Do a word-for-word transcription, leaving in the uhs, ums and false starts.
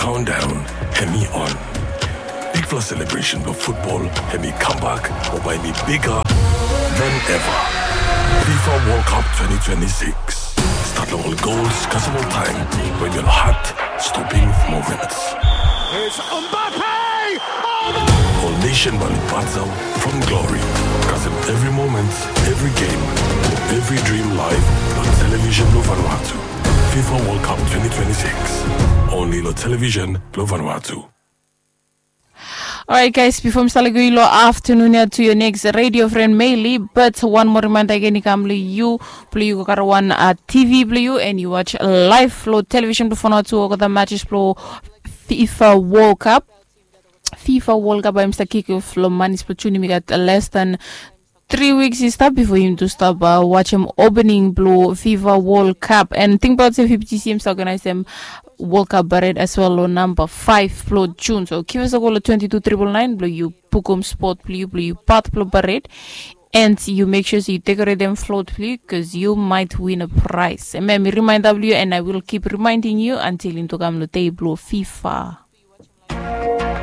Countdown hemi on. Bigfala celebration blong futbol hemi kambak, mo bae hemi bigger than ever. Fifa World Cup twenty twenty-six. Stat long ol gols kasem ol taem, we ol heart-stopping moments. It's Mbappe! Oh, my Ol nation bae lukaot from glory. Kasem evri moment, evri game, evri dream live long television blong Vanuatu. Fifa World Cup twenty twenty-six. Only long television blong Vanuatu. Alright guys, bifo mi stap lego yu long aftanun ya to your next radio friend Meili, but wan moa reminder again i kam long yu, blong yu go karem wan uh, T V blong yu and yu watch live long television blong Vanuatu olgeta matches blong Fifa World Cup. Fifa World Cup bae hemi stap kick off long manis blong June. Hemi gat less than three weeks i stap bifo yumi tu stap uh, wajem opening blong Fifa World Cup. And tingbaot se F I B T C hemi stap organizem World Cup parade as well long namba five blong June. So givim a kol long twenty two triple nine blong yu bukum spot blong yu, blong yu part blong parade. And yu make sure se yu decoratem float blong yu, cause yu might win a prize. Hemia hemi reminder blong yu, and I will keep reminding you until yumi tu kam long dei blong Fifa.